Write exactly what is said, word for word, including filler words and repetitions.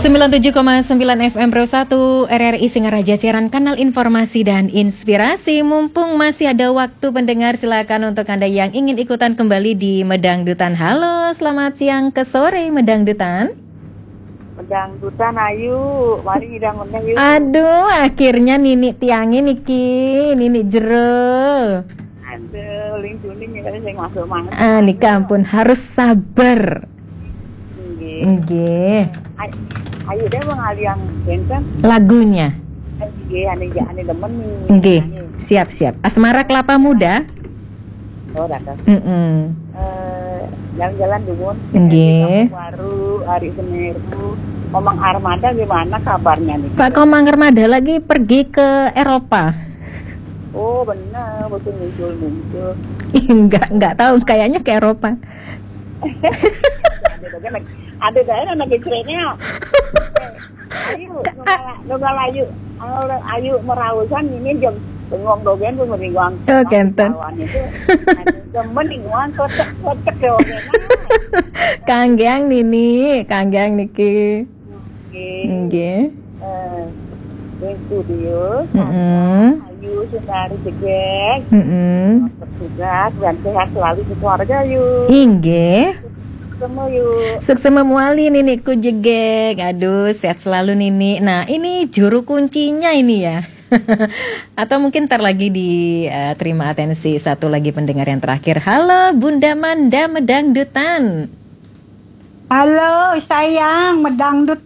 Sembilan tujuh koma sembilan F M Pro satu R R I Singaraja, siaran kanal informasi dan inspirasi. Mumpung masih ada waktu, pendengar, silakan untuk Anda yang ingin ikutan kembali di Medangdutan. Halo, selamat siang ke sore, Medangdutan. Medangdutan, ayu, mari ngidang meneh yuk. Aduh, akhirnya Nini tiangnya niki, Nini jero. Aduh, ling juning ya, sing masuk mangan. Ah, nika ampun, harus sabar. Nggih. Nggih. Ay- Ayu deh, Bang, aliang benten. Lagunya. Nggih, ane ane demen nih. Nggih, Ane. Siap-siap. Asmara Kelapa Muda. Oh, datang. Mm-mm. Eh, jalan-jalan dulu. Nggih. Baru hari Semeru. Komang Armada gimana kabarnya nih? Pak Komang Armada lagi pergi ke Eropa. Oh, benar, betul, muncul-muncul. Enggak, enggak tahu, kayaknya ke Eropa. Ada daerah anak, ada daerah anak kecilnya. Ayu, nunggal, nunggal ayu. Ayu merausan ini jam bengong dogen tuh meringuang. Oh, kenten. Kawan itu. Demen ringuang kotek-kotek ya, oke. Kanggeang Nini, kanggeang niki. Oke. Nggih. Eh, di studio. Mm-mm. Ayu, Sundari Jegek. Mm-mm. Bertugas dan sehat selalu di keluarga, yuk. Inggih. Semua, yuk. Suksema muali Niniku Jegek. Aduh, sehat selalu Nini. Nah, ini juru kuncinya ini ya. Atau mungkin ntar lagi di eh, terima atensi satu lagi pendengar yang terakhir. Halo Bunda Manda Medangdutan. Halo sayang, Medangdut